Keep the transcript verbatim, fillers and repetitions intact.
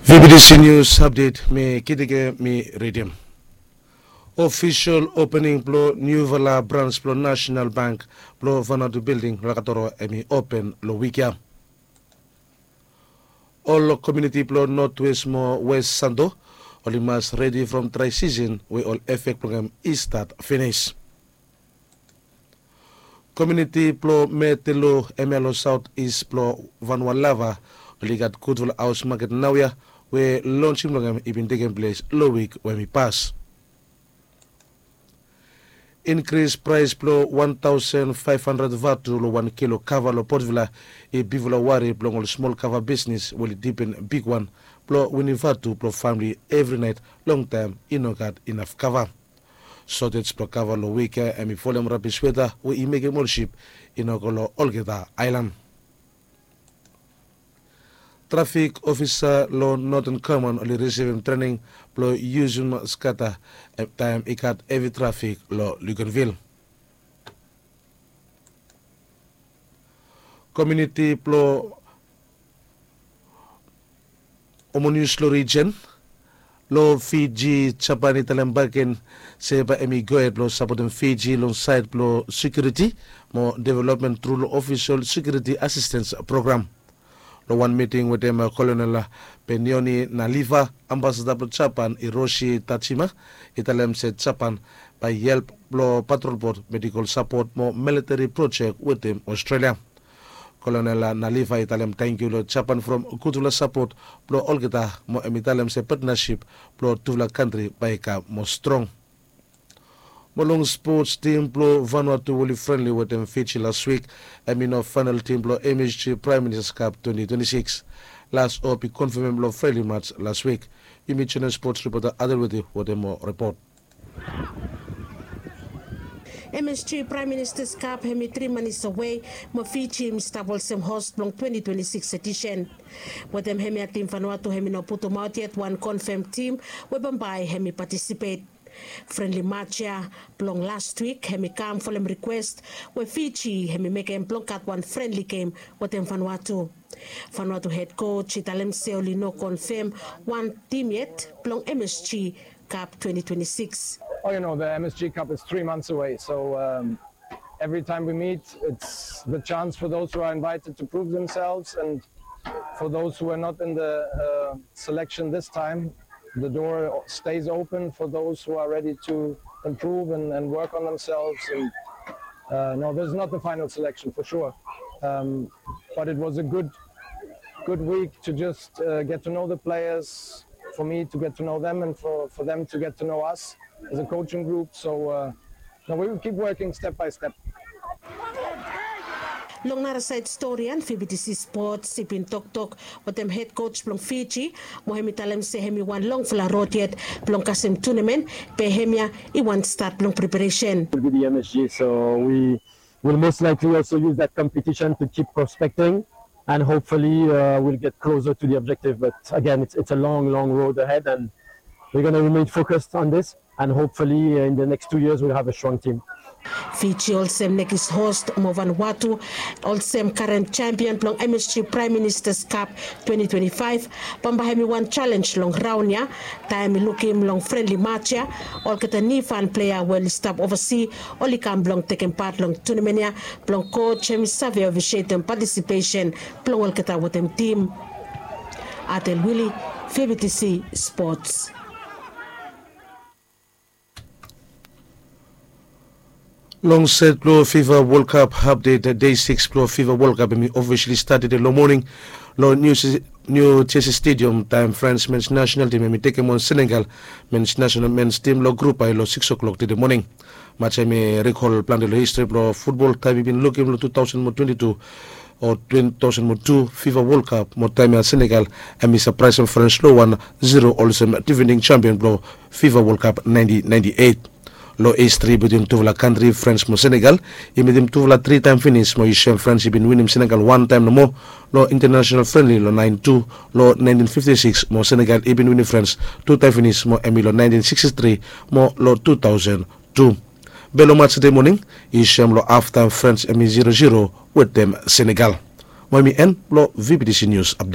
V B T C News Update, mi Kitike mi ridim. Ofisol opening blong niufala brans blong National Bank blong Vanuatu Building Lakatoro hemi open long wik ya. Ol komuniti blong Notwest mo West Santo oli mas redi from dry season we ol efek blong hem i stat finis. Komuniti blong Metelu hemia long South East blong Vanualava oli gat gudfala haos maket naoia we lonsing blong hem i bin tekem ples long wik we hemi pas. Inkris praes blong wan taosen faef handred vatu long wan kilo kava long Port Vila i bigfala wari blong ol smol kava bisnis we oli dipen bigwan blong winim vatu blong famle evri naet longtaem i no gat inaf kava. Sotej blong kava long wik ya hemi folem rabis weta we i mekem ol sip i no go long olgeta aelan. Trafik ofisa long Northern Command oli risivim trening blong yusum skata taem i gat hevi trafik long Luganville. Komuniti blong Omonues long rijen long Fiji, Japan i talem bakegen se bae hemi gohed blong sapotem Fiji long saed blong sekiuriti mo developmen tru long ofisol sekiuriti asistens program. Long wan miting wetem Kolonel Benioni Naliva, ambasada blong Japan Hiroshi Tajima i talem se Japan bae i help blong patrol bot, medikol sapot mo militeri projek wetem Australia. Kolonel Naliva i talem tangkiu long Japan from gudfala sapot blong olgeta mo hemi talem se patnasip blong tufala kantri bae i kam moa strong. Mo long spots, tim blong Vanuatu we oli frenli wetem Fiji las wik hemi no faenol tim blong M S G Praem Ministas Kap twenti twenti sikis. Las hop i konfemem long frenli mats las wik. Yumi joenem spots ripota Adelweti wetem moa ripot. M S G Praem Ministas Kap hemi tri manis awe mo Fiji hemi stap olsem hos blong twenti twenti sikis edisen. Wetem hemia tim Vanuatu hemi no putumaot yet wan konfem tim we bambae hemi patisipet. Frenli mats ya blong las wik hemi kam folem rikwes we Fiji hemi mekem blong gat wan frenli gem wetem Vanuatu. Vanuatu hed koj i talem se oli no konfem wan tim yet blong M S G Kap twenti twenti sikis. Oh, you know, the M S G Cup is three months away, so um, every time we meet, it's the chance for those who are invited to prove themselves, and for those who are not in the uh, selection this time, the door stays open for those who are ready to improve and, and work on themselves. And uh, no, this is not the final selection for sure, um, but it was a good, good week to just uh, get to know the players, for me to get to know them, and for, for them to get to know us as a coaching group. So uh, no, we will keep working step by step. Long nara saed stori ya, V B T C Spots i bin toktok wetem hed koj blong Fiji mo hemi talem se hemi wan longfala rod yet blong kasem tunamen, be hemia i wan stat blong preparesen. Will be the M S G, so we will most likely also use that competition to keep prospecting, and hopefully uh, we'll get closer to the objective. But again, it's, it's a long, long road ahead, and we're going to remain focused on this. And hopefully uh, in the next two years we'll have a strong team. Fiji olsem nekis host mo Vanuatu olsem karen sempion blong M S G Praem Ministas Kap twenti twenti faef bambae hemi wan jalenj long raon ya. Taem i lukim long frenli mats ya, olgeta niufan plea we oli stap ovasi oli kam blong tekem pat long tunamen ya blong koj hemi save ofisietem patisipesen blong olgeta wetem tim. Adel Wili, V B T C Spots. Long set blong FIFA World Cup update, dei sikis blong FIFA World Cup hemi ofisali stat tede long moning long New Jersey Stadium taem Frans mens nasenal tim hemi tekem on Senegal mens nasenal mens tim long grup ai long sikis o'klok tede moning. Mats ya hemi rikol plante long histri blong futbol taem i bin lukim long tu taosen mo twenti tu o twenti taosen mo tu FIFA World Cup mo taem ya Senegal hemi sapraesem Frans long wan ziro olsem difending sempion blong FIFA World Cup naenti naenti eit. Long histri bitwin tufala kantri Frans mo Senegal i mitim tufala tri taem finis mo yu sem Frans i bin winim Senegal wan taem nomo long intanasenal frenli long naenti tu long naentin fifti sikis mo Senegal i bin winim Frans tu taem finis mo hemi long naentin siksti tri mo long tu taosen tu. Be long mats tede moning yu sem long haftaem Frans hemi ziro ziro wetem Senegal. Mo hemi en blong V B T C News Update.